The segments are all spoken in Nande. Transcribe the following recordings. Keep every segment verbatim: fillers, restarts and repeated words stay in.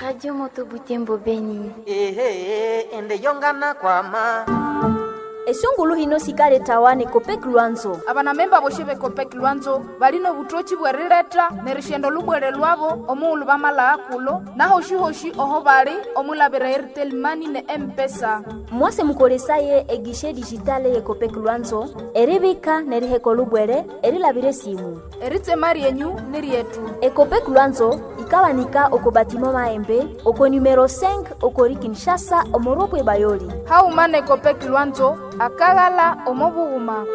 Radio Moto Butembo Beni. Ehe, ende yongana kwama. Esungulu hino sikaletawa ne Copec Lwanzo. Abanamemba boshe be Copec Lwanzo balino obutoki bwerileta nerishendo lubwere lwabo omughulu bamala kulo nahoshihoshi oho bali omulabira Airtel Money ne M-Pesa. Mwase mukolesaye egishe digitale ye Copec Lwanzo eribika neriheka lubwere erilabira esimu. Eritsema ryenyu ni ryetu. Ecopec Lwanzo ikawanika oko batimo maembe oko numero cinq okori Kinshasa omoropwe bayoli. Hauma ne Copec Lwanzo akaghala omo bughuma.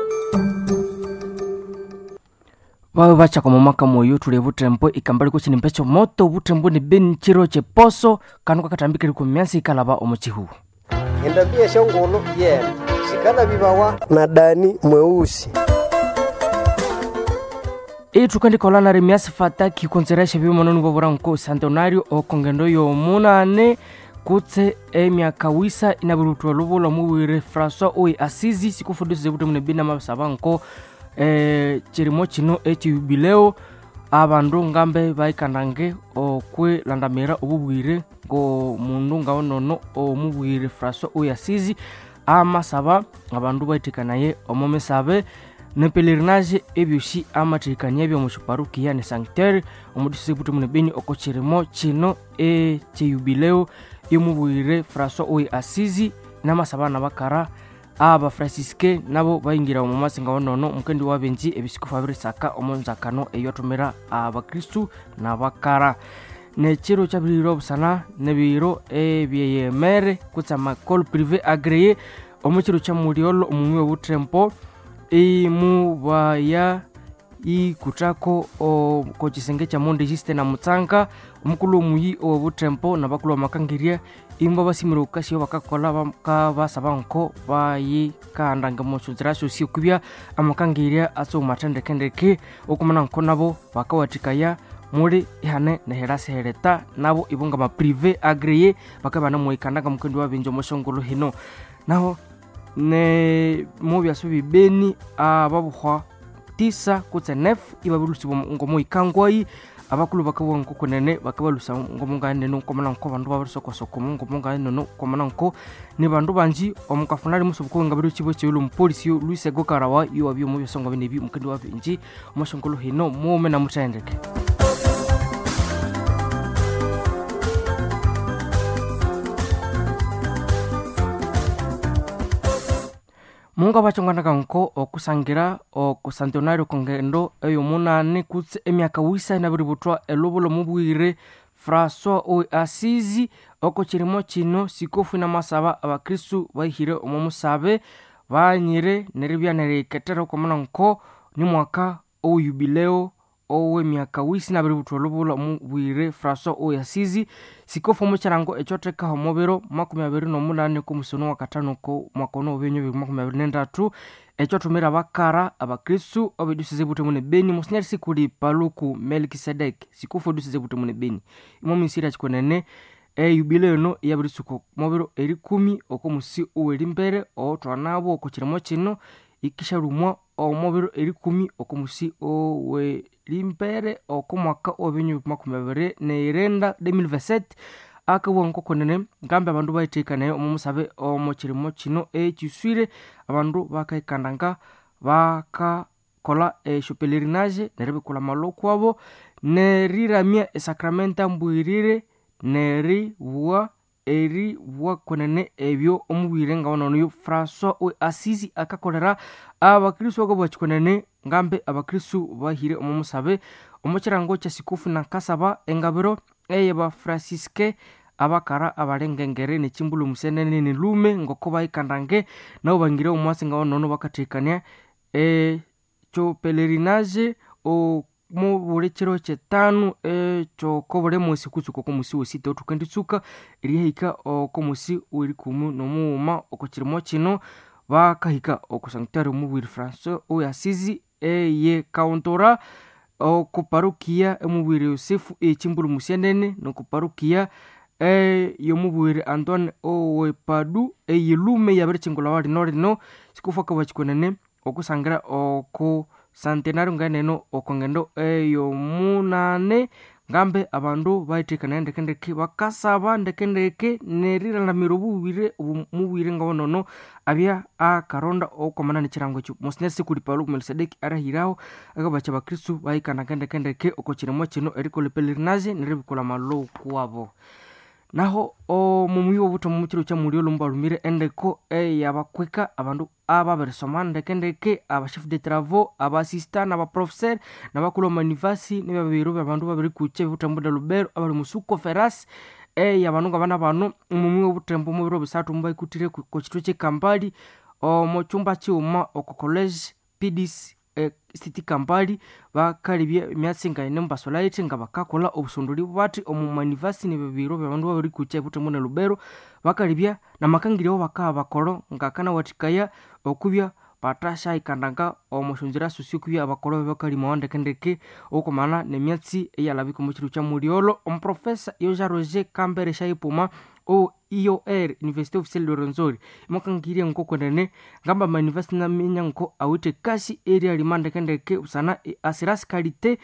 Bawe bachaka momaka moyo tuli butembo ikambali kuchini mpecho moto butembo ni beni chiro cheposo kanu kakatambikiri kumyansi ikalaba omuchihu. Endambia eshongolo yena sikala bibawa na Dani mweusi. Itukandikola na remiasi fataki konseresha bimononi bobora nko santonario okongendo yomunane kutse emyaka wisa inabirutwa lubula mubwire François oyi Asizi sikufundisa butembo ne bina mabasaba nko eh, chirimo chino echijubileo abandu ngambe baikandange okwilandamira obubwire ngo mundu ngaonono omubwire François oyi Asizi amasaba abandu baitikanaye omumisabe nepelerinage ebyosi amathikania ebyomushiparukiya ne sanctuary omudisi butembo ne beni oko chirimo chino echijubileo yomubwire François oyi Asizi namasaba nabakara aba francisque nabo baingira omu masinga onono mukendi wabenji ebisikufu abirisaka omunzakano eyothumira abakristu nabakara. Nekiro kyabiriro obusana nebiro ebyeyemere kutse amakole privé agreye omukiro kya mulyolo omumi obutempo imubaya ikuthako kokisenge kya mondegiste na mutsanga omukulu omuyi owobutempo nabakulu bamakangirya imbo basimire okukasyayo bakakola bakabasaba nko bayikandanga omusyonzira syosi okwibya amakangirya atsomathendekendeke okumana nko nabo bakawathikaya muli ihane nehirasihereta nabo ibo ngama privé agreye bakabana muikandanga mukendi wabinja omusyongolo hino. Naho ne mubyasa bibeni ababuhwa tisa kutse nef ibabilusibwa ngomuikangwayi abakulu bakabugha nkokunene bakabalusa ngomunganene nkomana nko bandu babirisokosoko ngomunganene nkomana nko ni bandu banji omukafunali musubuku ngabiri chibo chiulu mupolisi Luis Gokarawa yuwabyo mubyasongo binebi mukendi wabinji omushongolo hino mume na muthendeke. Mungu abachonganaga nko okusangira okusantionario kongendo eyomunane kutse emyaka wisa inabiributhwa elubulo mubwire François oyi Asizi oko chirimo chino sikofu inamasaba abakristu baihire omo musabe banyire neribya neriketera okomana nko ni mwaka owujubileo owemyaka wisi nabiributhwa olubulo mubwire François oyi Asizi sikofu omukirango ekyothekaho omubiro makumi abiri nomunani komusono wakatano ko mwaka ono obenyu bibiri makumi abiri nendatu ekyothumira abakara abakristu obedusize butembo ne beni monsinyeri sikuli Paluku Melkisedek sikofu odusize butembo ne beni imo minsiri akikonene eyubile eno iyabirisuka mubiro erikumi okomusi owerimbere othwanabo okukirimo kino ikisharumwa omubiro erikumi okomusi owerimbere okomwaka owenyu makumi abiri neirenda deux mille vingt-sept akabugha nkokunene ngambi abandu bayithikanaye omu musabe omu kirimo kino ekiswire abandu bakaikandanga bakakola esyo pelerinage neribikula amalho kwabo neriramya esakramenta mbwirire neribugha eribugha kwenene ebyo omubwire ngawanonoyo François oyi Asizi akakolera abakristu bakabugha kikwenene ngambe abakristu bahire omu musabe omukirango kya sikufu nakasaba engabiro eyaba francisque abakara abalengengere nechimbulu musenene nilume ngoko bayikandange nabo bangire omwasi ngawanono bakathikania ekyo pelerinage mubuli kiro kyetanu ekyokobuli musi kutsuka okomusi wesita othukenditsuka erihika okomusi werikumi nomughuma okukirimo kino bakahika oku sanctuary omubwiri François oyi Asizi eye kauntora okuparukiya emubwiri Yosefu echimbulu musienene nokuparukiya eyomubwiri Antoine owepadu eyilume yabirikyingulhawa lino lino sikufu akabugha kikwenene okusangira oku centenario ngeneno okongendo eyomunane Ngambe abandu bayithekanaya ndekendeke bakasaba ndekendeke neriramira obubwire mubwire ngabonono abya akaronda okwamana nekirango ekyo. Monsignor Sikuli Paluku Melkisedeki arahiraho akabacha abakristu bayikana ndekendeke oko kirimo kino erikolha pelerinage neribikula amalowo kuwabo. Naho omumuyi w'obuthomo mukiro kya mulyolo mubalumire endeko eyabakweka abandu ababirisoma ndekendeke, abachef de travaux, abasista n'abaprofesseur n'abakulhu amanivasi n'ebyabiru byabandu babirikucha ebibuthembo ne Lubero abali musuko ferasi eyabandu ngabana bano omumuyi w'obuthembo mubiro bisathu mubayikuthire okukitwe ky'ekambali omo kyumba kighuma oko college P D C City Kampali bakalibya emyatsi ngayine mubasolaithi nga bakakolha obusondoli bathi omu manivasi nebibiro byabandu babirikucha ebuthembo ne Lubero bakalibya namakangirya awo bakaha bakolo ngakanawathikaya okubya bathasyayikandaga omo syonzira syosi okubya abakolo babakalimawa ndekendeke okwamana nemyatsi eyalabika omo kiro kya mulyolo. Omuprofesa Yoja Roger Kambere Shaipuma o I O R Université Officielle de Rwenzori mwakangirye nkokwenene ngamba manivasi naminya nko awithe kasi eryalima ndekendeke busana asirasi kalite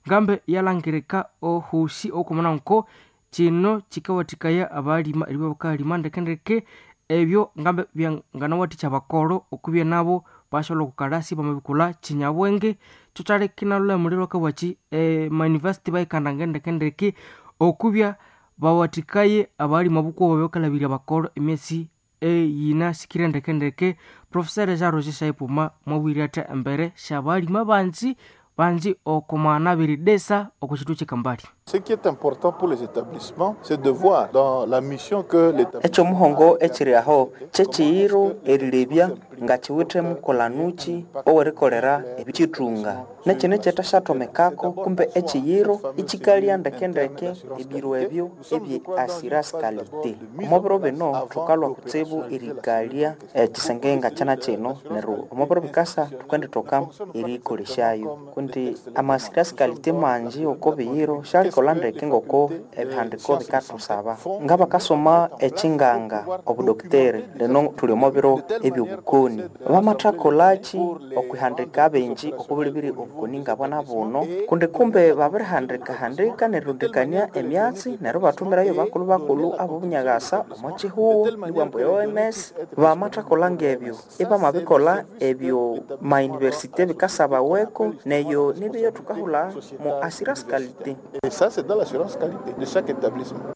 ngambe yalangirika ohosi okwamana nko kino kikawathikaya abalima eribya bakalima ndekendeke ebyo ngambe byanganawathikya abakolo okubya nabo basyola okukalasi bamabikolha kinyabwenge kyo kyaleka inalhulamulirwa akabwaki emanivasity bayikandanga ndekendeke okubya bawathikaye abalima bukubo bakalabirya abakolo emyatsi eyinasikire ndekendeke. Professor Jean Roger Shaipuma mwabwire athi embere syabalima banji banji okomana abiridesa oko kitwe kyekambali. Ce qui est important pour les établissements, c'est de voir dans la mission que l'établissement Ekyomuhongo ekiri aho kyekiyiro erilebya nga kiwithe mukolanuki owerikolera ebikitunga nekino ekyethasyathomakako kumbe ekiyiro ikikalya ndekendeke ebiro ebyo ebye assurance qualité. Omo biro bino thukalwa kutsibu erikalya ekisenge nga kyana kino neryo omo biro bikasa thukendithoka erikolesyayo kundi ama assurance qualité mangi oko biyiro syalikolha ndeke ngoko ebihandiko bikathusaba. Ngabakasoma ekinganga obudokiteri lino thuli omo biro ebyobukoni bamathakolhaki okwihandika abengi okubulibiri obukoni ngabwana buno kundi kumbe babirihandikahandika nerirundikania emyatsi neryo bathumirayo bakulhu bakulhu abobunyakasa omo kihugho nibwambu e O M S bamathakolha ngebyo ibamabikolha ebyo mayunivesity bikasabaweko neyo nibyo thukahulha mu assurance qualité. Et ça, c'est dans l'assurance qualité de chaque établissement.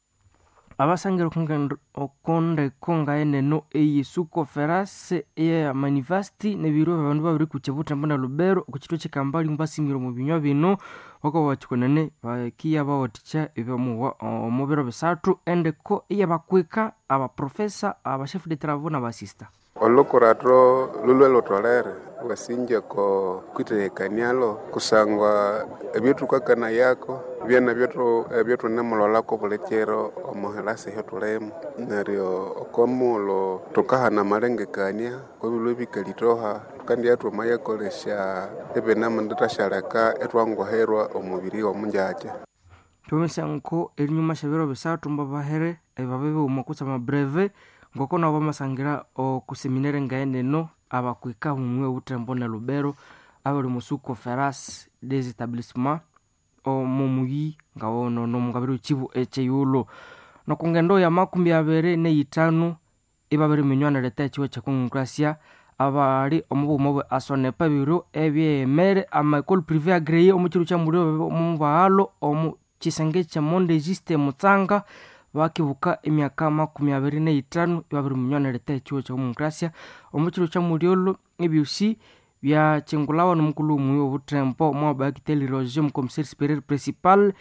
Abasangira okondeko ngaeneno eyesuko ferase eya manivasti nebiro abandu babirikucha buthembo na Lubero okukitwe kyekambali mubasimire omu binywa bino bakabakyikonene bakiya bawathikya ebyamuwa omu biro bisathu endeko eyabakweka abaprofesa abachef de travaux n'abasista. Olukuratro lulwe lutolere wasinja ko kwitekanialo kusangwa ebyotukakana yako byana byotu ebyotunemulolako bulekero omuhelasi hyotulemu neryo okomulo tukahana amalengekania kobilwe bikalitoha kandi atuma yakolesya ebinamunditashaleka etwanguherwa omubiri omunjakya. Tumisa nko erinyuma syabiro bisathu mbabahere ebabe kutse amabreve ngoko nabo bamasangira okuseminere ngaeneno abakwika mumwe obuthembo ne Lubero abali musuko feras des établissements omumuyi ngawono nomungabiro kibu ekyeyulo nokungendo ya makumi abiri neyithanu ibabiri minywana leta ekiwa kyekongokrasia abali omubughuma bwe asonepa ebiro ebyemere ama école privée agréée omukiro kya muliro omubaghalo omu kisenge kya Mondegiste Mutsanga bakibuka emyaka makumi abiri neyithanu ibabiri munywana leta ekiwa kyekongokrasia omukiro kya mulyolo ebyosi byakyingulawa nomukulhu omuyi obuthembo mwabakiteli Roger omukomissaire supérieur principal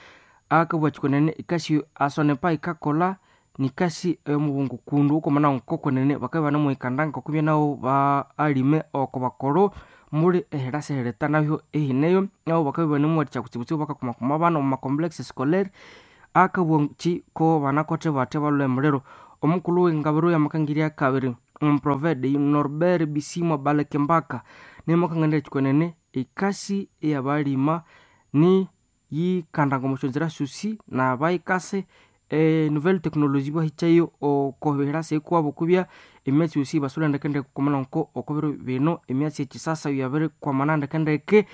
akabugha kyikonene ikasi asonepa ikakolha nikasi eyomubungu kundu okwamana nkokwenene bakabya ibanemughikanda ngokubya nabo baalime oko bakolo muli ehirasi ehirita nabyo ehineyo nabo bakabya ibanemuwathikya kutsibutsibu bakakumakuma abana omu macomplexe scolaire akabugha ki ko banakothe bathi balhwe emuliro. Omukulhu wengabiro yamakangirya kabiri omuprovede Norbert Bisimwa Balekembaka nemakangania kyikonene ekasi eyabalima ni yikandanga omusyonzira syosi nabayikase e nouvelle technologie bahikyayo okobirasa ekuwabo kubya emyatsi yosi basolha ndekendeke okwamana nko okobiro bino emyatsi ekyisasa yabirikwamana ndekendeke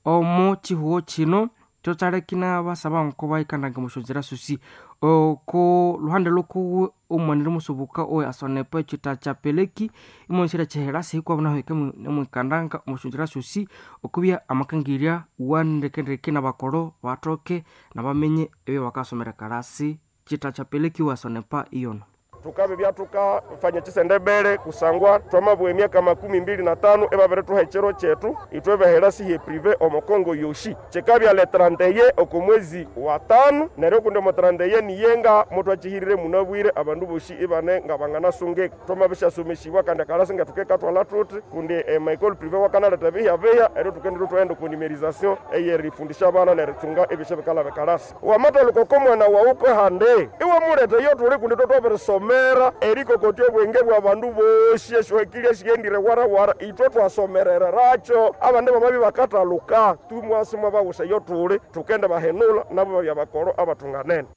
omo kihugho kino. Kyokyalekina basaba nko bayikandange omusyonzira syosi oko luhande lwokuwe omwanire musubuka owe asonepo ekita kya peleki imonsira kyihera sihikwabo naho nemwikandanga omusyonzira syosi okubya amakangirya wandekendeke nabakoro bathoke nabamenye ebyo bakasomera kalasi kita kya peleki wasonepa iyono tukabibya tukafanya chisendebele kusangwa twamabwa emyaka makumi mbili na tano ebabirituha ekiro kyetu ithwe behera sihe prive omukongo yoshi kikabya le tranteye oko mwezi wa tano neryo kundi omo tranteye niyenga mutwakihirire munabwire abandu boshi ibane nga banganasungika twamabishasomesibwa kandi akalasi nga tukekatwala tuti kundi emaekole prive wakanaleta bihiya bihiya eryo tukendire twaghenda oku numerization eyerifundisha abana nerithunga ebisha bikalaba ekalasi wamathaluka oko mwana wawu kwehande iwamuleta iyo tuli kundi twatwabirisoma mera erikokotya obwenge bwa bandu bosi esyohekilya esiyendire warawara ithwe twasomererarakyo abandi bamabi bakathaluka tumwasi mwabawusa iyo tuli tukende bahenula nabo babya bakoro abathunganene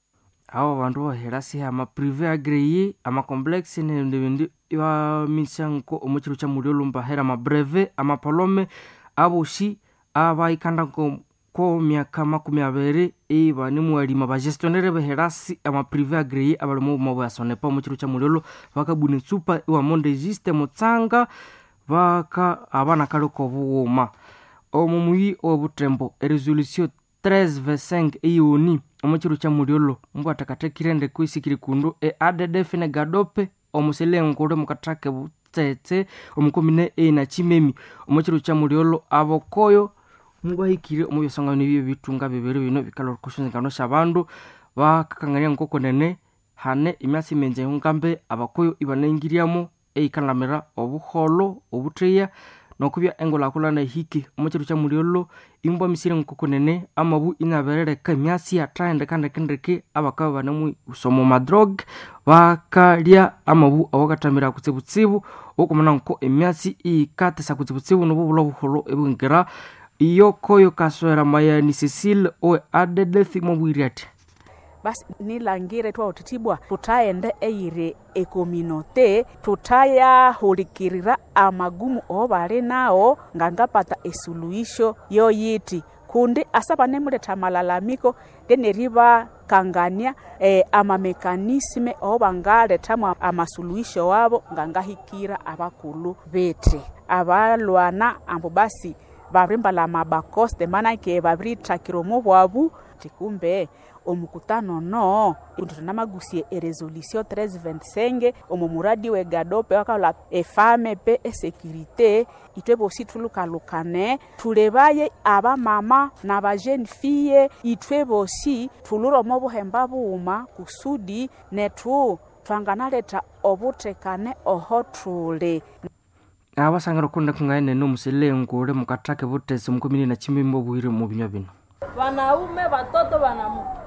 abo bandu bahera siha amaprive agreye amacomplexe nebindi ibamisa nko omukiro kya mulyolho mbahera amabreve amapalome abosi abayikanda nko ko myaka makumi abiri ibanemuwalima bagestionnaire beherasi amaprive agreye abali omu buma bwa sonepa omukiro kya mulyolho bakabuna etsupa iwamonde juste mutsanga baka abana kaliko obughuma omu muyi owebutembo eresolution treize vingt-cinq eyoni omukiro kya mulyolho mbwathakathekire ndeko isikiri kundu e addf ne gadope omusilengule mukathaka butsetse omukomine einachimemi omukiro kya mulyolho abokoyo mubahikire omu byasangano ebyo bitunga bibiri bino bikalwa kushonzengano syabandu bakakangania nkokonene hane emyasi mingi ngambe abakoyo ibanengiriamo eyikanamira obuholo obutheya nokubya engulhakulhana ehike omukiro kya mulyolho imbwa misire nkokonene amabu inaberereka emyasi yathahendeka ndekendeke abakabya banemusoma omadrog bakalya amabu awakathamira kutsibutsibu okumana nko emyasi iyikatesa kutsibutsibu nobubulha obuholo ebwingira iyokoyo kaswera mayani Cecile owe addf mobwire ati basi nilangire twawuthithibwa thuthaghenda eyiri ekominote tuthayahulikirira amagumu obali nawo ngangapata esuluhisho yoyiti kundi asa banemuletha amalalamiko ngeneribakanganĩa eh, amamekanisme obangalethamu amasuluhisho wabo ngangahikira abakulhu bethi abalwana ambu basi babirimbalha amabakoste manake babirithakira omo bwabu tikumbe omukutano no tunamagusie eresolution treize vingt-cinq omo muradi we gadope wakalwa efame pe esekirite itwe bosi thulukalukane thulebaye abamama nabajeune fille itwe bosi thulure omo buhemba bughuma kusudi nethu twanganaletha obuthekane oho thuli abasangira okunda kungane nomusilengule mukathaka butesi mukomini na chimimbo bwire mu binywa bino wanaume watoto wanamuke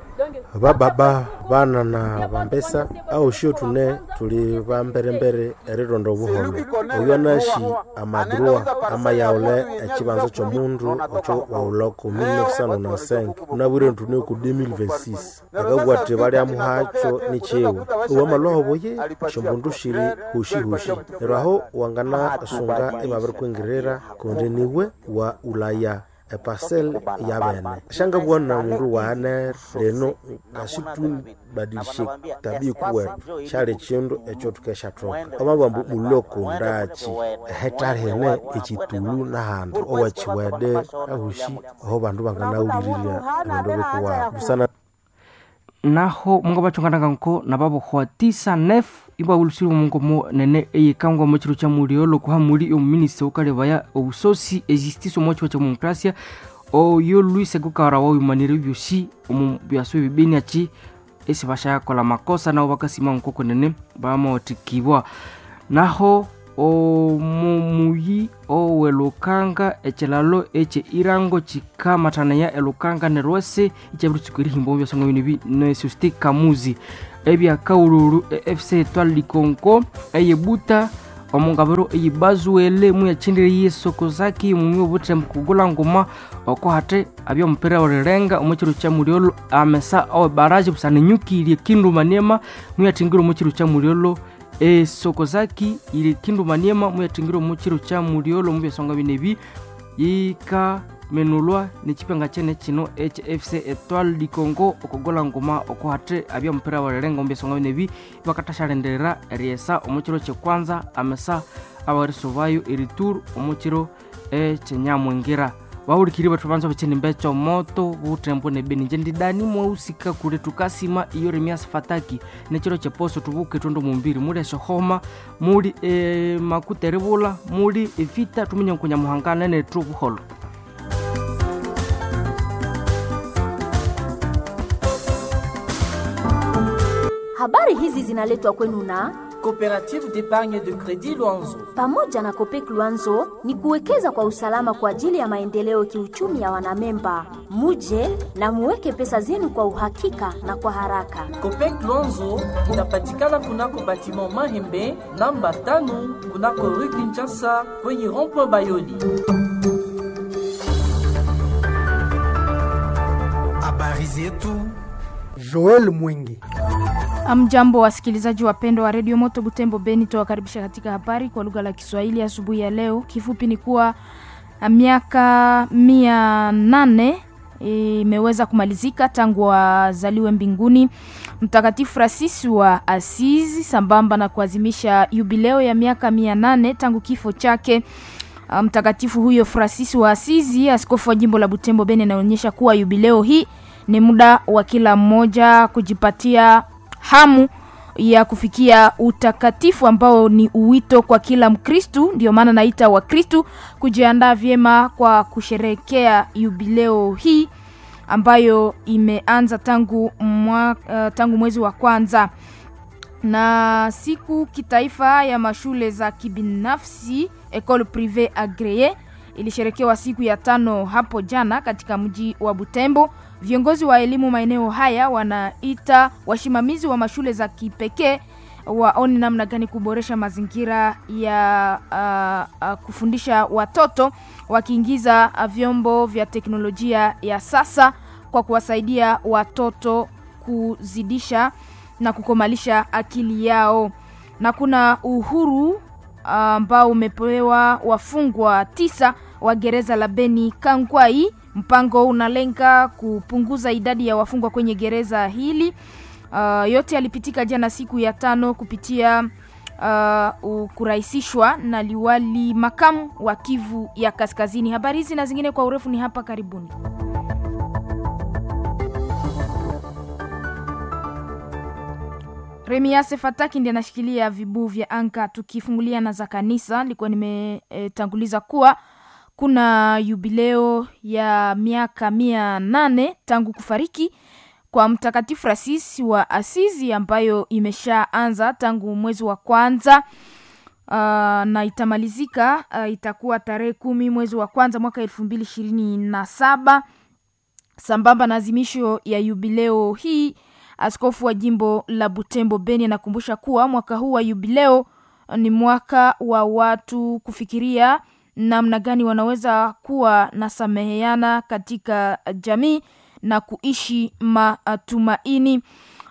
vababa vana na vambesa auxio tune tuli vamberembere erironda obuholo oyo anaxi amadrua amayaule ecibanza comundu oco waula ku mil novecentos e cinco unabwire ntune ku dois mil vingt-six akabwa ati valyamuhaco ni ciwe owamalwaho boye xombundu xiri huxihuxi neryo aho wangana sunga imavirikwingirira kundi niwe wa ulaya epasel ya bene xangabwa na mundu wahanere leno ngasitubadilishe tabia kuwetu xali chindu eco tukexathoka omabambu muloko ndachi hetalihene ecitulu nahandi owachiwede ahuxi aho bandu banganawulirirya ebindu bikuwabo busana naho mungo bachongananga nko nababohwa tisa nef ibawulusiri mungo mo nene eyikangwa mu chiro cha muliolo kuhamuli omuminista ukalebaya obusosi ejustice omu chiwa cha demokrasia oyo Luis Gukara wayumanire byosi omu byaso ebibeni achi esi bashayakola makosa nabo bakasima nkoko nene bamotikibwa naho omumuyi owelukanga echilalo eche irango chikamathanaya elukanga nerwese ichabiritsuka erihimba omu byasonga bino bi nesusti kamuzi ebyakaululu e F C Etoile Likonko eyebuta omungabiro eyibazuele muyachindire yesokozaki mumi obuthembu kugula nguma oko hate abyomupira orirenga omukiro kya mulyolo amesa owebaraje busana enyukirie kindu maniema muyathingire omukiro kya mulyolo esokozaki iri kindu maniema muyathingire omukiro kya mulyolo mubyasonga binebi yika menulwa nechipenga chene chino H F C Etoile du Congo okogola ngoma okohate abya mupira walelenga ombesonga nebi bakatashalenderera eriesa omuchiro kyekwanza amesa abarisubayo eritour omuchiro ekyenyamwingira bawulikiri bethu banza bechenimbe kyomoto butembo nebeni nje ndidani mwausika kule tukasima iyo remias fataki nechiro cheposo tubuke tondo mumbiri muli eshohoma muli e, makuta eribula muli evita tuminye nkunyamuhangana nethu buholo. Habari hizi zinaletwa kwenu na Coopérative d'épargne de crédit Luanzo. Pamoja na Copec Luanzo ni kuwekeza kwa usalama kwa ajili ya maendeleo kiuchumi ya wanamemba. Muje na muweke pesa zenu kwa uhakika na kwa haraka. Copec Luanzo inapatikana kunako batiment Mahembe namba tano kunako rue Kinshasa kwenye rond-point Bayoli. Habari zetu Joel Mwingi. Amjambo, wasikilizaji wapendwa wa redio Moto Butembo Beni, tuwakaribisha katika habari kwa lugha la Kiswahili asubuhi ya leo. Kifupi ni kuwa miaka mia nane imeweza kumalizika tangu wazaliwe mbinguni Mtakatifu Francis wa Asizi, sambamba na kuadhimisha jubileo ya miaka mia nane tangu kifo chake mtakatifu huyo Francis wa Asizi. Askofu wa jimbo la Butembo Beni anaonyesha kuwa jubileo hii ni muda wa kila mmoja kujipatia hamu ya kufikia utakatifu ambao ni uwito kwa kila Mkristu. Ndio maana naita Wakristu kujiandaa vyema kwa kusherehekea jubileo hii ambayo imeanza tangu, mwa, uh, tangu mwezi wa kwanza. Na siku kitaifa ya mashule za kibinafsi Ecole Privee Agree ilisherekewa siku ya tano hapo jana katika mji wa Butembo. Viongozi wa elimu maeneo haya wanaita wasimamizi wa mashule za kipekee waone namna gani kuboresha mazingira ya uh, uh, kufundisha watoto wakiingiza vyombo vya teknolojia ya sasa kwa kuwasaidia watoto kuzidisha na kukomalisha akili yao. Na kuna uhuru ambao uh, umepewa wafungwa tisa wa gereza la Beni Kangwai. Mpango unalenga kupunguza idadi ya wafungwa kwenye gereza hili. Uh, yote yalipitika jana siku ya tano kupitia uh, kurahisishwa na liwali makamu wa Kivu ya Kaskazini. Habari hizi na zingine kwa urefu ni hapa karibuni. Remiase Fataki ndiye anashikilia vibuu vya anka. Tukifungulia na za kanisa, nilikuwa nimetanguliza e, kuwa kuna jubileo ya miaka mia nane tangu kufariki kwa Mtakatifu Francis wa Asizi ambayo imeshaanza tangu mwezi wa kwanza uh, na itamalizika uh, itakuwa tarehe kumi mwezi wa kwanza mwaka elfu mbili ishirini na saba. Sambamba na azimisho ya jubileo hii, askofu wa jimbo la Butembo Beni anakumbusha kuwa mwaka huu wa jubileo ni mwaka wa watu kufikiria namna gani wanaweza kuwa na sameheana katika jamii na kuishi matumaini.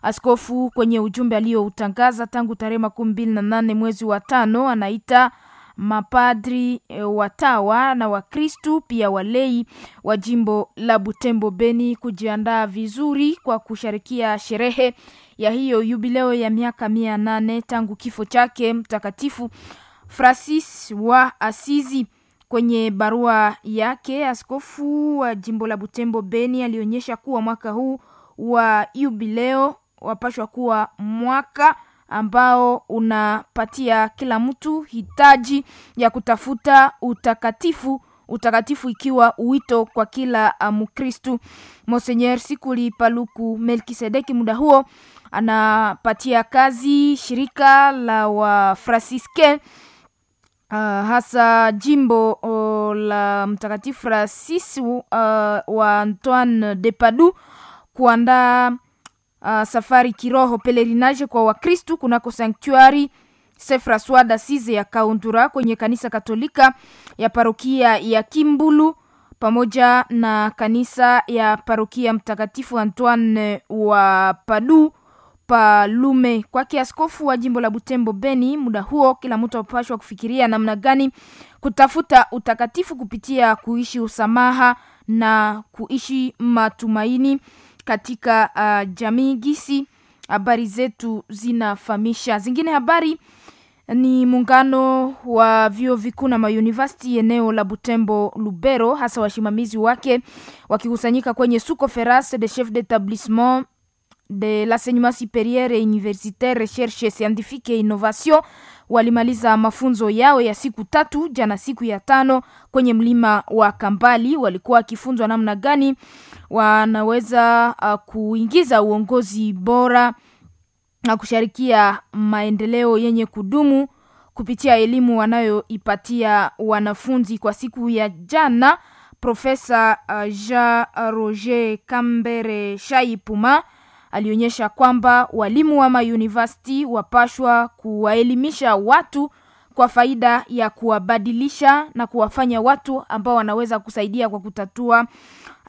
Askofu kwenye ujumbe aliyoutangaza tangu tarehe makumi mbili na nane mwezi wa tano anaita mapadri watawa na Wakristu pia walei wa jimbo la Butembo Beni kujiandaa vizuri kwa kushirikia sherehe ya hiyo jubileo ya miaka mia nane tangu kifo chake Mtakatifu Francis wa Asizi. Kwenye barua yake, askofu wa jimbo la Butembo Beni alionyesha kuwa mwaka huu wa jubileo wapashwa kuwa mwaka ambao unapatia kila mtu hitaji ya kutafuta utakatifu, utakatifu ikiwa wito kwa kila Mkristu. Monseigneur Sikuli Paluku Melkisedeki muda huo anapatia kazi shirika la Wafransiske Uh, hasa jimbo uh, la Mtakatifu Francis uh, wa Antoine de Padoue kuandaa uh, safari kiroho pelerinage kwa Wakristu kunako sanctuary Saint Francois d'Assise ya Kaundura kwenye kanisa Katolika ya parokia ya Kimbulu pamoja na kanisa ya parokia Mtakatifu Antoine wa Padoue Palume. Kwake askofu wa jimbo la Butembo Beni, muda huo kila mtu apashwa kufikiria namna gani kutafuta utakatifu kupitia kuishi usamaha na kuishi matumaini katika uh, jamii gisi habari zetu zinafahamisha. Zingine habari ni muungano wa vyuo vikuu na mayunivasiti eneo la Butembo Lubero, hasa wasimamizi wake wakikusanyika kwenye sous conférence de chef d'établissement de l'enseignement supérieur et universitaire recherche scientifique et innovation walimaliza mafunzo yao ya siku tatu jana, siku ya tano kwenye mlima wa Kambali. Walikuwa wakifunzwa namna gani wanaweza uh, kuingiza uongozi bora na kushirikia maendeleo yenye kudumu kupitia elimu wanayoipatia wanafunzi. Kwa siku ya jana, Profesa uh, Jean Roger Kambere Shaipuma alionyesha kwamba walimu wa mauniversity wapashwa kuwaelimisha watu kwa faida ya kuwabadilisha na kuwafanya watu ambao wanaweza kusaidia kwa kutatua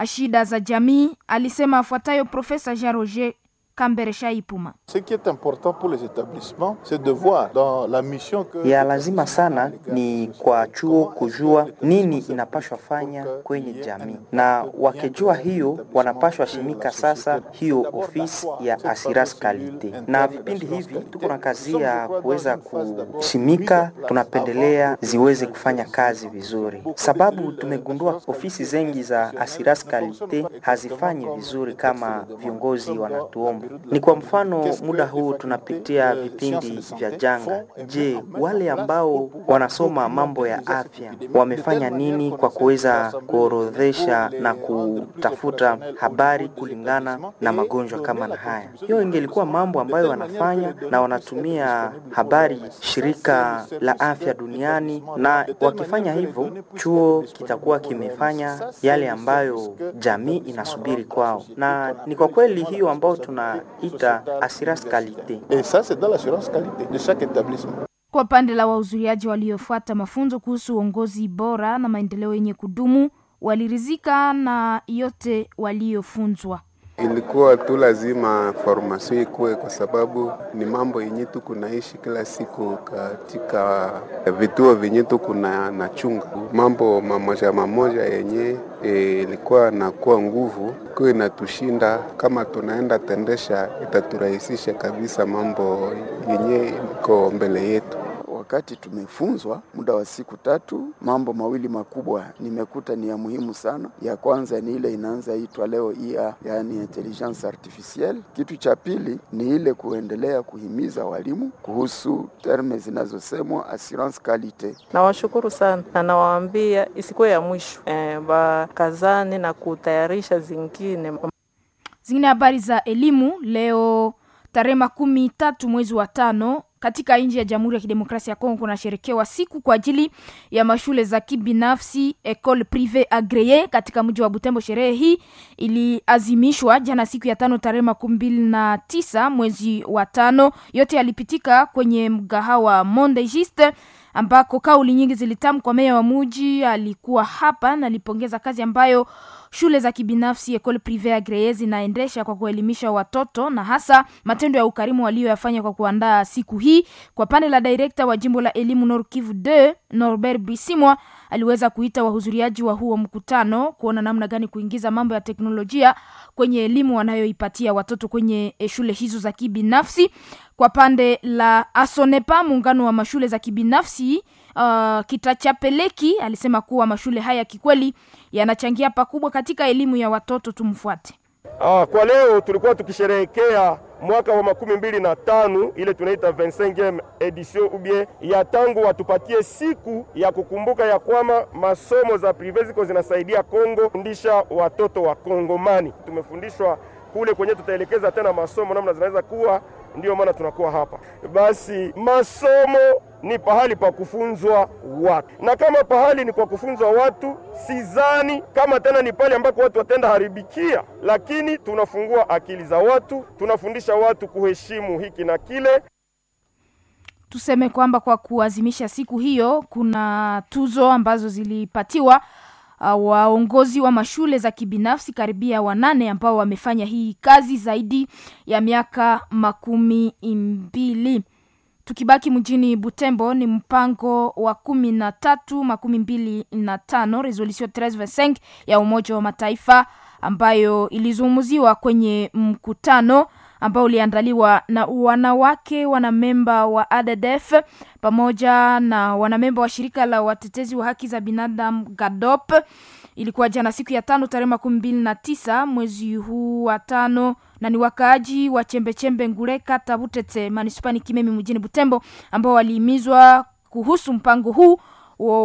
shida za jamii. Alisema afuatayo Profesa Jean Roger Kambere Shaipuma. Ce qui est important pour les établissements, c'est de voir dans la mission que ya lazima sana ni kwa chuo kujua nini inapashwa fanya kwenye jamii, na wakijua hiyo wanapashwa shimika sasa hiyo ofisi ya assurance kalite. Na vipindi hivi tuko na kazi ya kuweza kushimika, tunapendelea ziweze kufanya kazi vizuri, sababu tumegundua ofisi zengi za assurance kalite hazifanyi vizuri kama viongozi wanatuomba. Ni kwa mfano muda huu tunapitia vipindi vya janga. Je, wale ambao wanasoma mambo ya afya wamefanya nini kwa kuweza kuorodhesha na kutafuta habari kulingana na magonjwa kama na haya? Hiyo ingelikuwa mambo ambayo wanafanya na wanatumia habari shirika la afya duniani, na wakifanya hivyo chuo kitakuwa kimefanya yale ambayo jamii inasubiri kwao, na ni kwa kweli hiyo ambayo tunaita assurance qualité. Et ça, c'est dans l'assurance qualité de chaque établissement. Kwa pande la wahudhuriaji waliofuata mafunzo kuhusu uongozi bora na maendeleo yenye kudumu walirizika na yote waliofunzwa. Ilikuwa tu lazima formation ikuwe, kwa sababu ni mambo yenye tu kunaishi kila siku katika vituo vyenye tu kuna nachunga mambo mamoja mamoja yenye ilikuwa nakuwa nguvu kuwa inatushinda. Kama tunaenda tendesha, itaturahisisha kabisa mambo yenye iko mbele yetu. Wakati tumefunzwa muda wa siku tatu, mambo mawili makubwa nimekuta ni ya muhimu sana. Ya kwanza ni ile inaanza itwa leo I A, yaani intelligence artificielle. Kitu cha pili ni ile kuendelea kuhimiza walimu kuhusu terme zinazosemwa assurance qualite. Nawashukuru sana na nawaambia isikuwe ya mwisho e, bakazane na kutayarisha zingine Zingine habari za elimu leo tarehe makumi tatu mwezi wa tano katika nchi ya Jamhuri ya Kidemokrasia ya Kongo kunasherekewa siku kwa ajili ya mashule za kibinafsi Ecole Privee Agree katika mji wa Butembo. Sherehe hii iliazimishwa jana siku ya tano tarehe makumi mbili na tisa mwezi wa tano. Yote yalipitika kwenye mgahawa Monde Juste ambako kauli nyingi zilitamkwa. Meya wa muji alikuwa hapa na alipongeza kazi ambayo shule za kibinafsi Ecole Privee Agree zinaendesha kwa kuelimisha watoto na hasa matendo ya ukarimu walioyafanya kwa kuandaa siku hii. Kwa pande la direkta wa jimbo la elimu Nord Kivu deux Norbert Bisimwa aliweza kuita wahudhuriaji wa huo mkutano kuona namna gani kuingiza mambo ya teknolojia kwenye elimu wanayoipatia watoto kwenye shule hizo za kibinafsi. Kwa pande la Asonepa, muungano wa mashule za kibinafsi uh, Kitachapeleki alisema kuwa mashule haya kikweli yanachangia pakubwa katika elimu ya watoto. Tumfuate. Ah, kwa leo tulikuwa tukisherehekea mwaka wa makumi mbili na tano ile tunaita vingt-cinquième edition ubie ya tangu watupatie siku ya kukumbuka ya kwamba masomo za prive ziko zinasaidia Kongo fundisha watoto wa Kongomani. Tumefundishwa kule kwenye tutaelekeza tena masomo namna zinaweza kuwa, ndiyo maana tunakuwa hapa. Basi masomo ni pahali pa kufunzwa watu, na kama pahali ni kwa kufunzwa watu, sizani kama tena ni pale ambako watu watenda haribikia, lakini tunafungua akili za watu, tunafundisha watu kuheshimu hiki na kile. Tuseme kwamba kwa kuazimisha siku hiyo kuna tuzo ambazo zilipatiwa uh, waongozi wa mashule za kibinafsi karibia wanane ambao wamefanya hii kazi zaidi ya miaka makumi mbili. Tukibaki mjini Butembo, ni mpango wa kumi na tatu makumi mbili na tano resolution treize vingt-cinq ya Umoja wa Mataifa ambayo ilizungumziwa kwenye mkutano ambao uliandaliwa na wanawake wanamemba wa A D D F pamoja na wanamemba wa shirika la watetezi wa haki za binadamu GADOP. Ilikuwa jana siku ya tano tarehe makumi mbili na tisa mwezi huu wa tano, na ni wakaaji wa chembechembe Nguleka Tabutete manispani Kimemi mjini Butembo ambao walihimizwa kuhusu mpango huu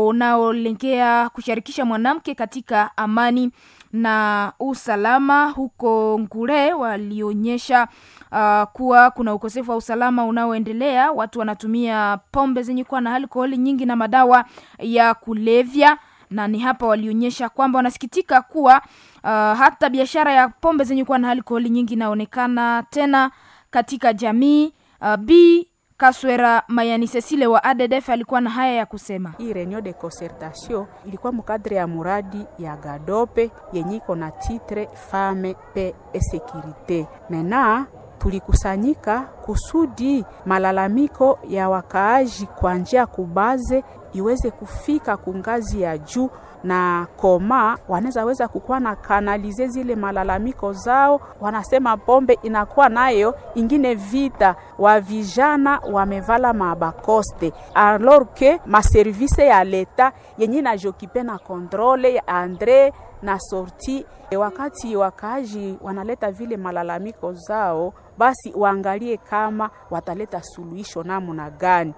unaolengea kushirikisha mwanamke katika amani na usalama. Huko Ngure walionyesha uh, kuwa kuna ukosefu wa usalama unaoendelea, watu wanatumia pombe zenye kuwa na alkoholi nyingi na madawa ya kulevya, na ni hapa walionyesha kwamba wanasikitika kuwa uh, hata biashara ya pombe zenye kuwa na alkoholi nyingi inaonekana tena katika jamii. Uh, B Kaswera Mayani Cecile wa A D D F alikuwa na haya ya kusema. Hii reunion de concertation ilikuwa mukadre ya muradi ya Gadope yenye iko na titre Femme Paix et Sécurité. Mena tulikusanyika kusudi malalamiko ya wakaaji kwa njia kubaze iweze kufika kungazi ya juu na koma wanaweza weza kukuwa na kanalize zile malalamiko zao. Wanasema pombe inakuwa nayo ingine vita wa vijana wamevala mabakoste alors que maservice ya leta yenye najokipe na kontrole ya andre na sorti. Wakati wakaaji wanaleta vile malalamiko zao, basi waangalie kama wataleta suluhisho namna gani.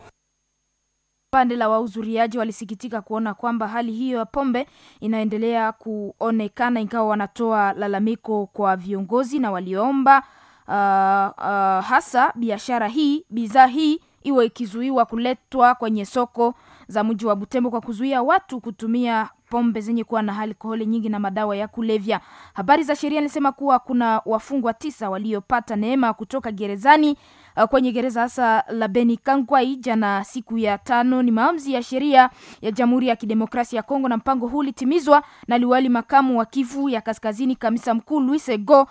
Pande la wahudhuriaji walisikitika kuona kwamba hali hiyo ya pombe inaendelea kuonekana, ingawa wanatoa lalamiko kwa viongozi na waliomba uh, uh, hasa biashara hii, bidhaa hii iwe ikizuiwa kuletwa kwenye soko za mji wa Butembo kwa kuzuia watu kutumia pombe zenye kuwa na alkoholi nyingi na madawa ya kulevya. Habari za sheria nilisema kuwa kuna wafungwa tisa waliopata neema kutoka gerezani kwenye gereza hasa la Beni Kangwai jana siku ya tano. Ni maamuzi ya sheria ya Jamhuri ya Kidemokrasia ya Kongo, na mpango huu ulitimizwa na liwali makamu wa Kivu ya Kaskazini, kamisa mkuu Louis Ego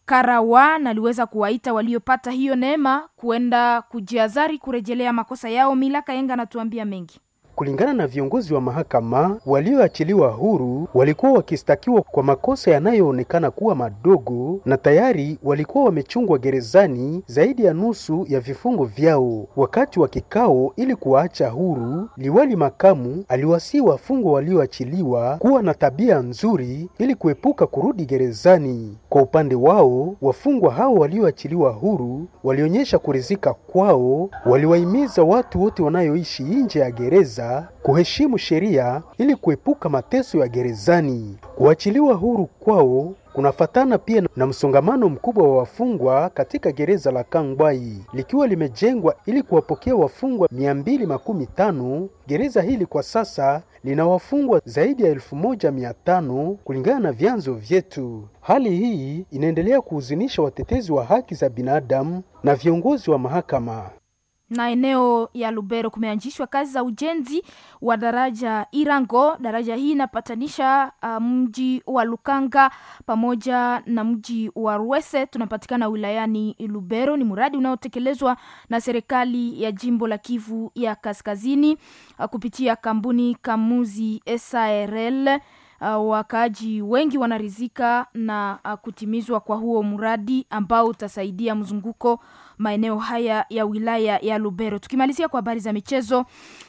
Karawa, na aliweza kuwaita waliopata hiyo neema kuenda kujiazari kurejelea makosa yao. Milaka Yenga anatuambia mengi. Kulingana na viongozi wa mahakama, walioachiliwa huru walikuwa wakistakiwa kwa makosa yanayoonekana kuwa madogo na tayari walikuwa wamechungwa gerezani zaidi ya nusu ya vifungo vyao. Wakati wa kikao ili kuwaacha huru, liwali makamu aliwasihi wafungwa walioachiliwa kuwa na tabia nzuri ili kuepuka kurudi gerezani. Kwa upande wao, wafungwa hao walioachiliwa huru walionyesha kuridhika kwao, waliwahimiza watu wote wanayoishi nje ya gereza kuheshimu sheria ili kuepuka mateso ya gerezani. Kuachiliwa huru kwao kunafatana pia na msongamano mkubwa wa wafungwa katika gereza la Kangwai likiwa limejengwa ili kuwapokea wafungwa mia mbili makumi tano. Gereza hili kwa sasa lina wafungwa zaidi ya elfu moja mia tano kulingana na vyanzo vyetu. Hali hii inaendelea kuhuzunisha watetezi wa haki za binadamu na viongozi wa mahakama. Na eneo ya Lubero kumeanzishwa kazi za ujenzi wa daraja Irango. Daraja hii inapatanisha uh, mji wa Lukanga pamoja na mji wa Rwese, tunapatikana wilayani Lubero. Ni mradi unaotekelezwa na serikali ya jimbo la Kivu ya Kaskazini uh, kupitia kampuni Kamuzi S A R L. Uh, wakaaji wengi wanarizika na uh, kutimizwa kwa huo mradi ambao utasaidia mzunguko maeneo haya ya wilaya ya Lubero. Tukimalizia kwa habari za michezo,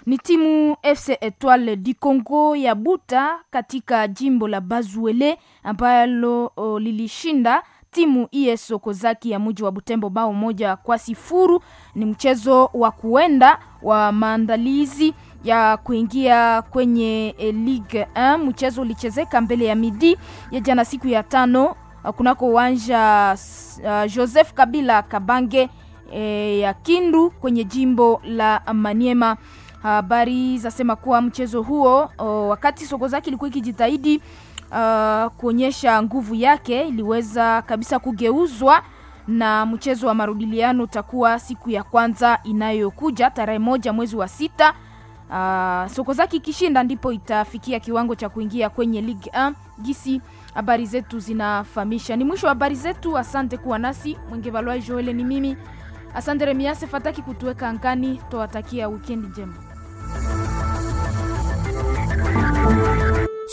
ni timu F C Etoile du Congo ya Buta katika jimbo la Bazuele ambalo uh, lilishinda timu I S Okozaki ya mji wa Butembo bao moja kwa sifuru. Ni mchezo wa kuenda wa maandalizi ya kuingia kwenye Ligue moja. Mchezo ulichezeka mbele ya midi ya jana siku ya tano kunako uwanja uh, Joseph Kabila Kabange e, ya Kindu kwenye jimbo la Maniema. Habari zasema kuwa mchezo huo o, wakati Sokozaki ilikuwa ikijitahidi uh, kuonyesha nguvu yake, iliweza kabisa kugeuzwa na mchezo wa marudiliano utakuwa siku ya kwanza inayokuja tarehe moja mwezi wa sita. Uh, Sokozaki ikishinda ndipo itafikia kiwango cha kuingia kwenye Ligue moja gisi habari zetu zinafahamisha. Ni mwisho wa habari zetu, asante kuwa nasi. Mwenge Valwa Joel ni mimi. Asante Remiase Fataki kutuweka angani, twawatakia wikendi njema.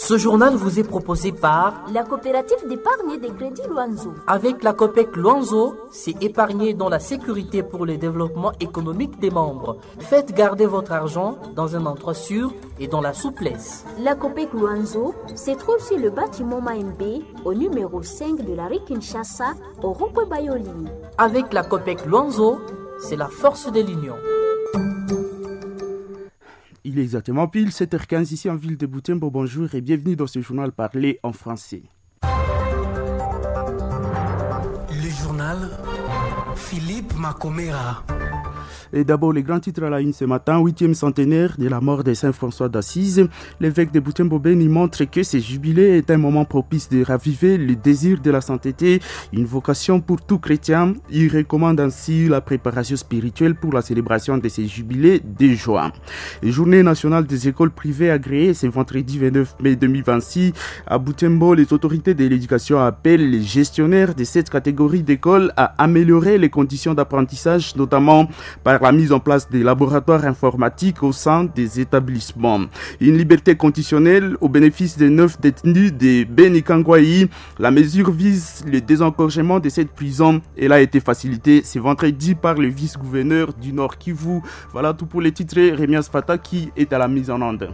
Ce journal vous est proposé par la coopérative d'épargne et de crédit Luanzo. Avec la COPEC Luanzo, c'est épargner dans la sécurité pour le développement économique des membres. Faites garder votre argent dans un endroit sûr et dans la souplesse. La COPEC Luanzo se trouve sur le bâtiment Maembe, au numéro cinq de la rue Kinshasa, au rond-point Bayoli. Avec la COPEC Luanzo, c'est la force de l'union. Il est exactement pile sept heures quinze ici en ville de Butembo. Bonjour et bienvenue dans ce journal parlé en français. Le journal Philippe Macomera. Et d'abord, les grands titres à la une ce matin, huitième centenaire de la mort de Saint François d'Assise. L'évêque de Butembo-Beni montre que ce jubilé est un moment propice de raviver le désir de la sainteté, une vocation pour tout chrétien. Il recommande ainsi la préparation spirituelle pour la célébration de ces jubilés de joie. Journée nationale des écoles privées agréées, c'est vendredi vingt-neuf mai deux mille vingt-six. À Butembo, les autorités de l'éducation appellent les gestionnaires de cette catégorie d'écoles à améliorer les conditions d'apprentissage, notamment par la mise en place des laboratoires informatiques au sein des établissements. Une liberté conditionnelle au bénéfice des neuf détenus de Beni-Kangwaï. La mesure vise le désencorgement de cette prison. Elle a été facilitée ce vendredi par le vice-gouverneur du Nord Kivu. Voilà tout pour les titres. Rémias Fata qui est à la mise en onde.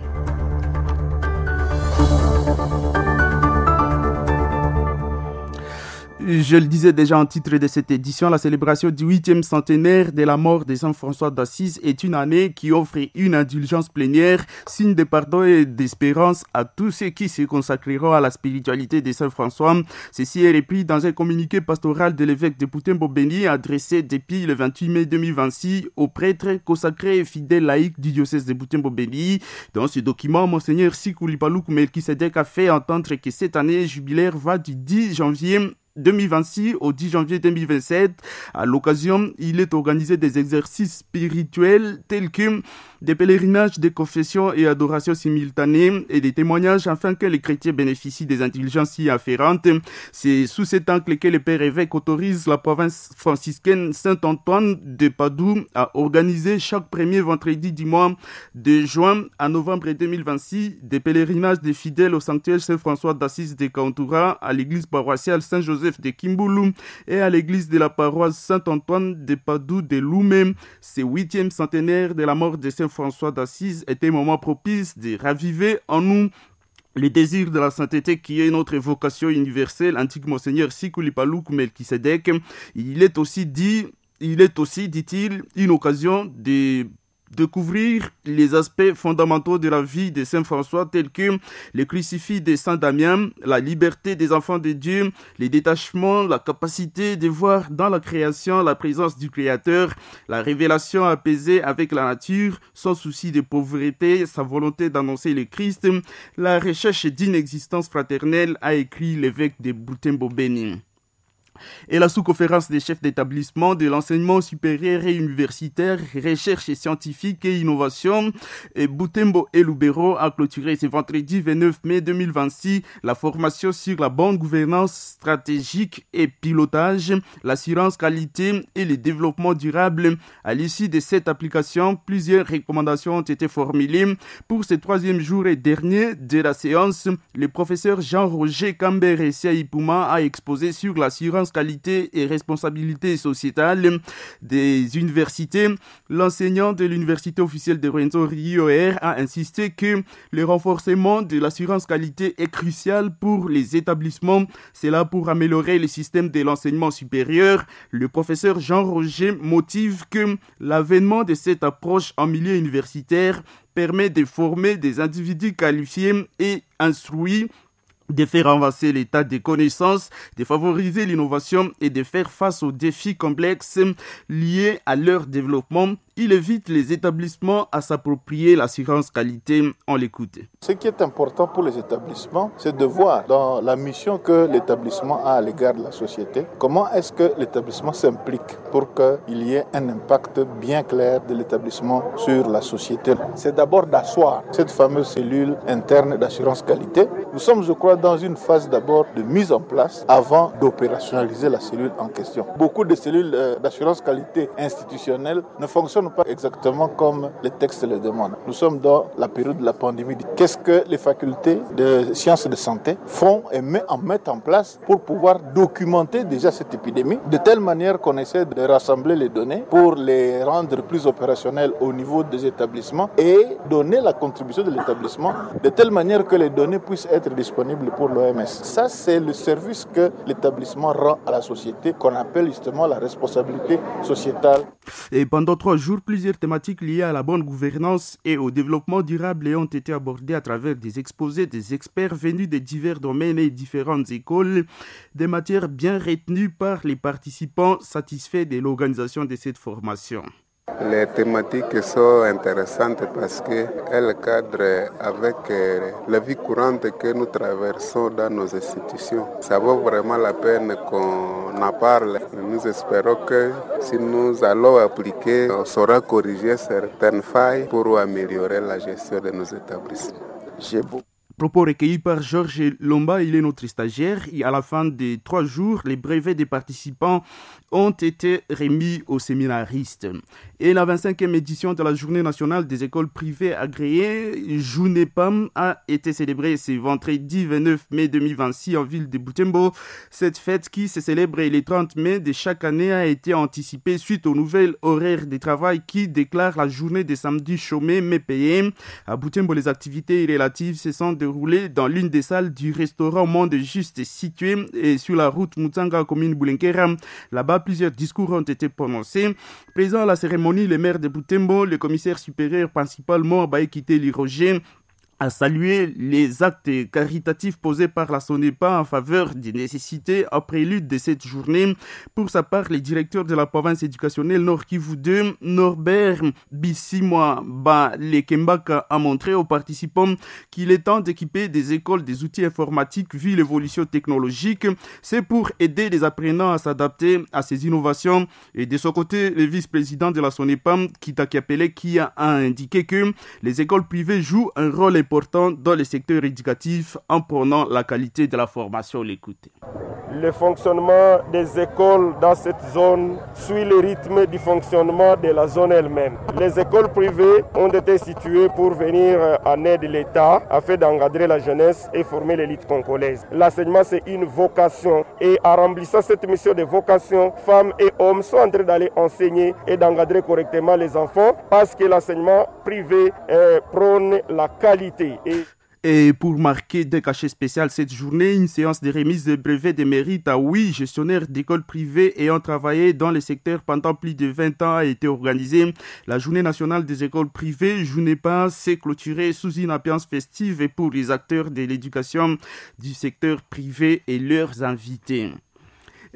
Je le disais déjà en titre de cette édition, la célébration du huitième centenaire de la mort de Saint François d'Assise est une année qui offre une indulgence plénière, signe de pardon et d'espérance à tous ceux qui se consacreront à la spiritualité de Saint François. Ceci est repris dans un communiqué pastoral de l'évêque de Butembo-Beni adressé depuis le vingt-huit mai deux mille vingt-six aux prêtres consacrés et fidèles laïcs du diocèse de Butembo-Beni. Dans ce document, Monseigneur Sikuli Paluku Melchisedec a fait entendre que cette année jubilaire va du dix janvier deux mille vingt-six au dix janvier deux mille vingt-sept. À l'occasion, il est organisé des exercices spirituels tels que des pèlerinages, des confessions et adorations simultanées et des témoignages afin que les chrétiens bénéficient des indulgences y afférentes. C'est sous cet angle que le Père évêque autorise la province franciscaine Saint-Antoine de Padoue à organiser chaque premier vendredi du mois de juin à novembre deux mille vingt-six des pèlerinages des fidèles au sanctuaire Saint-François d'Assise de Kauntura, à l'église paroissiale Saint-Joseph de Kimbulu et à l'église de la paroisse Saint-Antoine de Padoue de Loumé. Ce huitième centenaire de la mort de Saint François d'Assise est un moment propice de raviver en nous le désir de la sainteté qui est notre vocation universelle, indique Monseigneur Sikuli Paluku Melchisedec. Il est aussi dit, il est aussi, dit-il, une occasion de découvrir les aspects fondamentaux de la vie de Saint François tels que le crucifix de Saint Damien, la liberté des enfants de Dieu, les détachements, la capacité de voir dans la création la présence du Créateur, la révélation apaisée avec la nature, son souci de pauvreté, sa volonté d'annoncer le Christ, la recherche d'une existence fraternelle, a écrit l'évêque de Butembo-Beni. Et la sous-conférence des chefs d'établissement de l'enseignement supérieur et universitaire, recherche scientifique et innovation, et Butembo et Lubero a clôturé ce vendredi vingt-neuf mai deux mille vingt-six la formation sur la bonne gouvernance stratégique et pilotage, l'assurance qualité et le développement durable. À l'issue de cette application, plusieurs recommandations ont été formulées. Pour ce troisième jour et dernier de la séance, le professeur Jean-Roger Kambere Siaipuma a exposé sur l'assurance qualité et responsabilité sociétale des universités. L'enseignant de l'université officielle de Rwenzori I O R a insisté que le renforcement de l'assurance qualité est crucial pour les établissements. C'est là pour améliorer le système de l'enseignement supérieur. Le professeur Jean-Roger motive que l'avènement de cette approche en milieu universitaire permet de former des individus qualifiés et instruits, de faire avancer l'état des connaissances, de favoriser l'innovation et de faire face aux défis complexes liés à leur développement. Il évite les établissements à s'approprier l'assurance qualité. On l'écoute. Ce qui est important pour les établissements, c'est de voir dans la mission que l'établissement a à l'égard de la société, comment est-ce que l'établissement s'implique pour qu'il y ait un impact bien clair de l'établissement sur la société. C'est d'abord d'asseoir cette fameuse cellule interne d'assurance qualité. Nous sommes, je crois, va dans une phase d'abord de mise en place avant d'opérationnaliser la cellule en question. Beaucoup de cellules d'assurance qualité institutionnelle ne fonctionnent pas exactement comme les textes le demandent. Nous sommes dans la période de la pandémie. Qu'est-ce que les facultés de sciences de santé font et en mettent en place pour pouvoir documenter déjà cette épidémie de telle manière qu'on essaie de rassembler les données pour les rendre plus opérationnelles au niveau des établissements et donner la contribution de l'établissement de telle manière que les données puissent être disponibles pour l'O M S. Ça, c'est le service que l'établissement rend à la société, qu'on appelle justement la responsabilité sociétale. Et pendant trois jours, plusieurs thématiques liées à la bonne gouvernance et au développement durable ont été abordées à travers des exposés des experts venus de divers domaines et différentes écoles, des matières bien retenues par les participants satisfaits de l'organisation de cette formation. Les thématiques sont intéressantes parce qu'elles cadrent avec la vie courante que nous traversons dans nos institutions. Ça vaut vraiment la peine qu'on en parle. Nous espérons que si nous allons appliquer, on saura corriger certaines failles pour améliorer la gestion de nos établissements. J'ai beaucoup. Propos recueillis par Georges Lomba, il est notre stagiaire. Et à la fin des trois jours, les brevets des participants ont été remis aux séminaristes. Et la vingt-cinquième édition de la Journée nationale des écoles privées agréées, JUNEPAM, a été célébrée ce vendredi vingt-neuf mai deux mille vingt-six en ville de Butembo. Cette fête qui se célèbre le trente mai de chaque année a été anticipée suite aux nouvelles horaires de travail qui déclarent la journée des samedis chômés mais payés. À Butembo, les activités relatives se sont déroulées dans l'une des salles du restaurant Monde Juste situé et sur la route Mutanga, commune Boulenquera. Là-bas, plusieurs discours ont été prononcés. Présent à la cérémonie, le maire de Butembo, le commissaire supérieur principalement Baekite Liroger, a salué les actes caritatifs posés par la SONEPA en faveur des nécessités en prélude de cette journée. Pour sa part, le directeur de la province éducationnelle Nord Kivu deux, Norbert Bissimwa Balekembaka, a montré aux participants qu'il est temps d'équiper des écoles des outils informatiques vu l'évolution technologique. C'est pour aider les apprenants à s'adapter à ces innovations. Et de son côté, le vice-président de la SONEPA, Kitaki Apele, qui a indiqué que les écoles privées jouent un rôle important dans le secteur éducatif en prenant la qualité de la formation. L'écoute. Le fonctionnement des écoles dans cette zone suit le rythme du fonctionnement de la zone elle-même. Les écoles privées ont été situées pour venir en aide de l'État afin d'encadrer la jeunesse et former l'élite congolaise. L'enseignement, c'est une vocation et en remplissant cette mission de vocation, femmes et hommes sont en train d'aller enseigner et d'encadrer correctement les enfants parce que l'enseignement privé prône la qualité. Et Et pour marquer des cachets spéciaux cette journée, une séance de remise de brevets de mérite à huit gestionnaires d'écoles privées ayant travaillé dans le secteur pendant plus de vingt ans a été organisée. La journée nationale des écoles privées, JUNEPA, s'est clôturée sous une ambiance festive et pour les acteurs de l'éducation du secteur privé et leurs invités.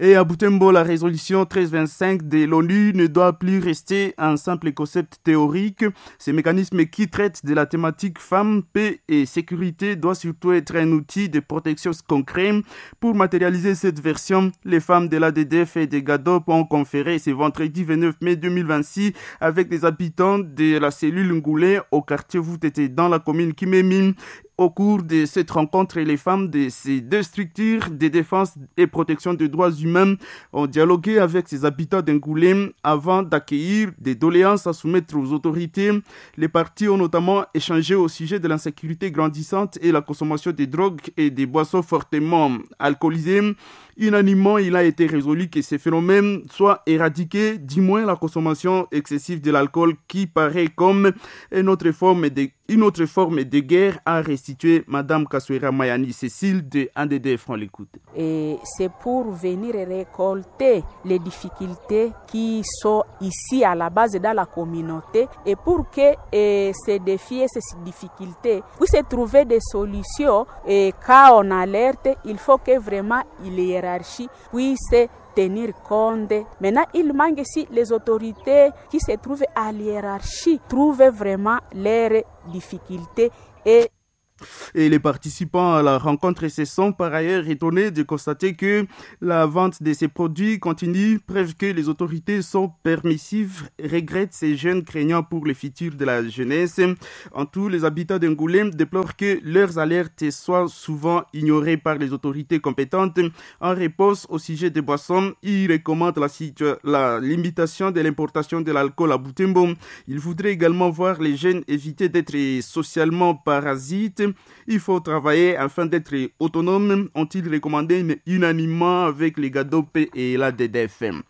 Et à Butembo, la résolution treize vingt-cinq de l'ONU ne doit plus rester un simple concept théorique. Ce mécanisme qui traite de la thématique femmes, paix et sécurité doit surtout être un outil de protection concret. Pour matérialiser cette version, les femmes de l'A D D F et des GADOP ont conféré ce vendredi vingt-neuf mai deux mille vingt-six avec des habitants de la cellule Ngoulé au quartier Voutete dans la commune Kimemi. Au cours de cette rencontre, les femmes de ces deux structures de défense et protection des droits humains ont dialogué avec ces habitants d'Ngoulé avant d'accueillir des doléances à soumettre aux autorités. Les partis ont notamment échangé au sujet de l'insécurité grandissante et la consommation des drogues et des boissons fortement alcoolisées. Unanimement, il a été résolu que ces phénomènes soient éradiqués, du moins la consommation excessive de l'alcool qui paraît comme une autre forme de, une autre forme de guerre, a restitué Madame Kaswera Mayani Cécile de A D D F. On l'écoute. Et c'est pour venir récolter les difficultés qui sont ici à la base dans la communauté et pour que et ces défis et ces difficultés puissent trouver des solutions. Et quand on alerte, il faut que vraiment il y ait hiérarchie puisse tenir compte. Maintenant, il manque si les autorités qui se trouvent à l'hiérarchie trouvent vraiment leurs difficultés et Et les participants à la rencontre se sont par ailleurs étonnés de constater que la vente de ces produits continue, preuve que les autorités sont permissives, regrettent ces jeunes craignant pour le futur de la jeunesse. En tout, les habitants d'Angoulême déplorent que leurs alertes soient souvent ignorées par les autorités compétentes. En réponse au sujet des boissons, ils recommandent la, la limitation de l'importation de l'alcool à Butembo. Ils voudraient également voir les jeunes éviter d'être socialement parasites. Il faut travailler afin d'être autonome, ont-ils recommandé unanimement avec les GADOP et la D D F M.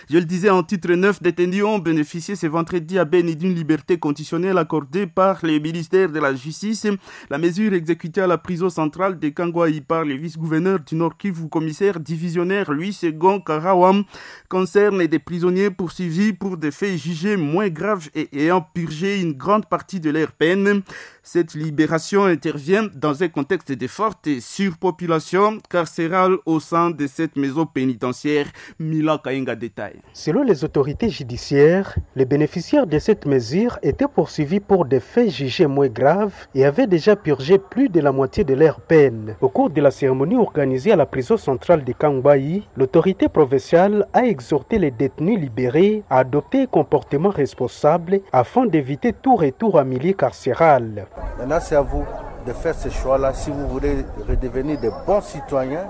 Je le disais en titre, neuf détenus ont bénéficié ce vendredi à Beni d'une liberté conditionnelle accordée par le ministère de la Justice. La mesure exécutée à la prison centrale de Kangwaï par le vice-gouverneur du Nord Kivu, commissaire divisionnaire Louis Segon Karawam, concerne des prisonniers poursuivis pour des faits jugés moins graves et ayant purgé une grande partie de leur peine. Cette libération intervient dans un contexte de forte surpopulation carcérale au sein de cette maison pénitentiaire. Mila Kainga détail. Selon les autorités judiciaires, les bénéficiaires de cette mesure étaient poursuivis pour des faits jugés moins graves et avaient déjà purgé plus de la moitié de leur peine. Au cours de la cérémonie organisée à la prison centrale de Kangbayi, l'autorité provinciale a exhorté les détenus libérés à adopter un comportement responsable afin d'éviter tout retour à milieu carcéral. Maintenant, c'est à vous de faire ce choix-là. Si vous voulez redevenir de bons citoyens,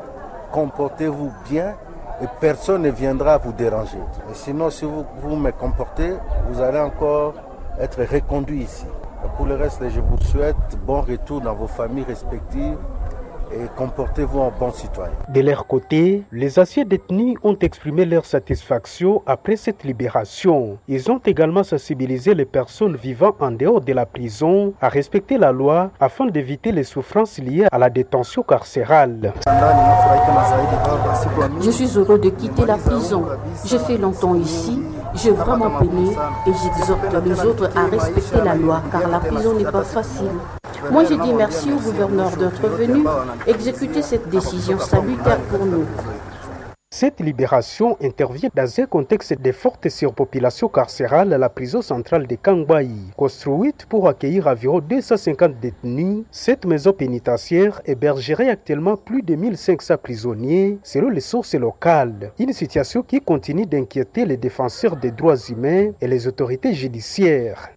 comportez-vous bien et personne ne viendra vous déranger. Et sinon, si vous vous me comportez, vous allez encore être reconduit ici. Et pour le reste, je vous souhaite bon retour dans vos familles respectives et comportez-vous en bon citoyen. De leur côté, les anciens détenus ont exprimé leur satisfaction après cette libération. Ils ont également sensibilisé les personnes vivant en dehors de la prison à respecter la loi afin d'éviter les souffrances liées à la détention carcérale. Je suis heureux de quitter la prison. J'ai fait longtemps ici. J'ai vraiment peiné et j'exhorte les autres à respecter la loi car la prison n'est pas facile. Moi, j'ai dit merci au gouverneur d'être venu exécuter cette décision salutaire pour nous. Cette libération intervient dans un contexte de forte surpopulation carcérale à la prison centrale de Kangbayi. Construite pour accueillir environ deux cent cinquante détenus, cette maison pénitentiaire hébergerait actuellement plus de mille cinq cents prisonniers, selon les sources locales. Une situation qui continue d'inquiéter les défenseurs des droits humains et les autorités judiciaires.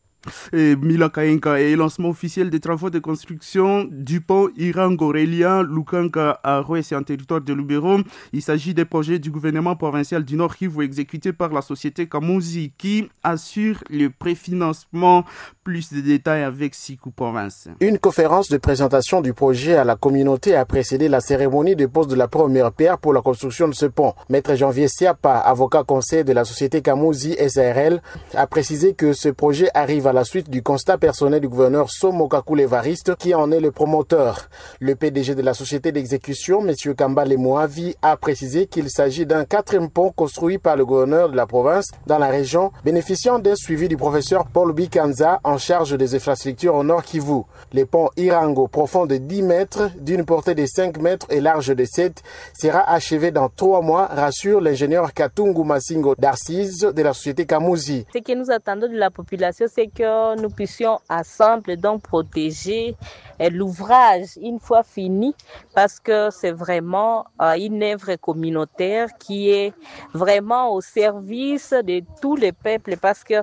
Et Mila Kaenka et lancement officiel des travaux de construction du pont Irango-Relia Lukanka à Rouessé en territoire de Lubero. Il s'agit des projets du gouvernement provincial du Nord Kivu exécutés par la société Kamuzi qui assure le préfinancement. Plus de détails avec Sikou Province. Une conférence de présentation du projet à la communauté a précédé la cérémonie de pose de la première pierre pour la construction de ce pont. Maître Janvier Siapa, avocat conseiller de la société Kamuzi S A R L, a précisé que ce projet arrive à la suite du constat personnel du gouverneur Somo Kakule Evariste qui en est le promoteur. Le P D G de la société d'exécution, M. Kambale Mouavi, a précisé qu'il s'agit d'un quatrième pont construit par le gouverneur de la province dans la région, bénéficiant d'un suivi du professeur Paul Bikanza en charge des infrastructures au Nord Kivu. Le pont Irango, profond de dix mètres, d'une portée de cinq mètres et large de sept, sera achevé dans trois mois, rassure l'ingénieur Katungu Masingo Darcise de la société Kamuzi. Ce que nous attendons de la population, c'est que nous puissions ensemble donc protéger l'ouvrage une fois fini, parce que c'est vraiment une œuvre communautaire qui est vraiment au service de tous les peuples, parce que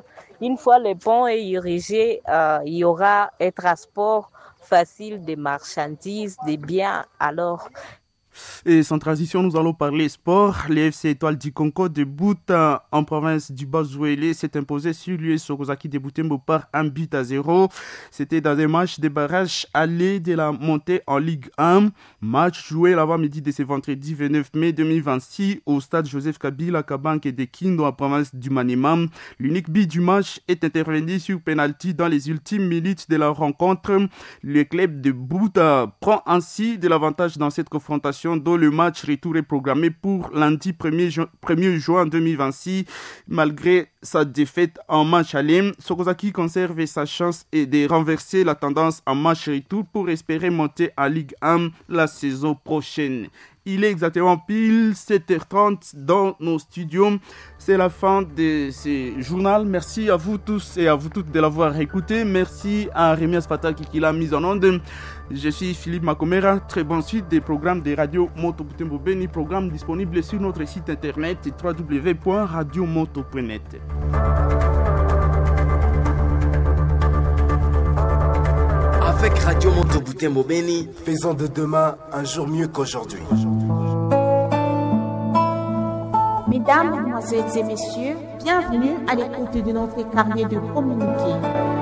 une fois le pont est érigé, euh, il y aura un transport facile des marchandises, des biens. Alors, et sans transition, nous allons parler sport. Le F C Étoile du Congo de Bouta en province du Bas-Ouélé s'est imposé sur l'U S Sokozaki de Butembo par un but à zéro. C'était dans un match de barrage aller de la montée en Ligue un. Match joué l'avant-midi de ce vendredi vingt-neuf mai deux mille vingt-six au stade Joseph Kabila Kabanke de Kindu en province du Maniema. L'unique but du match est intervenu sur penalty dans les ultimes minutes de la rencontre. Le club de Bouta prend ainsi de l'avantage dans cette confrontation dont le match retour est programmé pour lundi premier juin deux mille vingt-six. Malgré sa défaite en match aller, Sokozaki conserve sa chance et de renverser la tendance en match retour pour espérer monter en Ligue un la saison prochaine. Il est exactement pile sept heures trente dans nos studios. C'est la fin de ce journal. Merci à vous tous et à vous toutes de l'avoir écouté. Merci à Rémi Aspataki qui l'a mise en onde. Je suis Philippe Makomera. Très bonne suite des programmes des radios Moto Butembo Beni, programme disponible sur notre site internet w w w point radio moto point net. Avec Radio Moto Butembo Beni, faisons de demain un jour mieux qu'aujourd'hui. Mesdames, Mesdemoiselles et Messieurs, bienvenue à l'écoute de notre carnet de communiqué.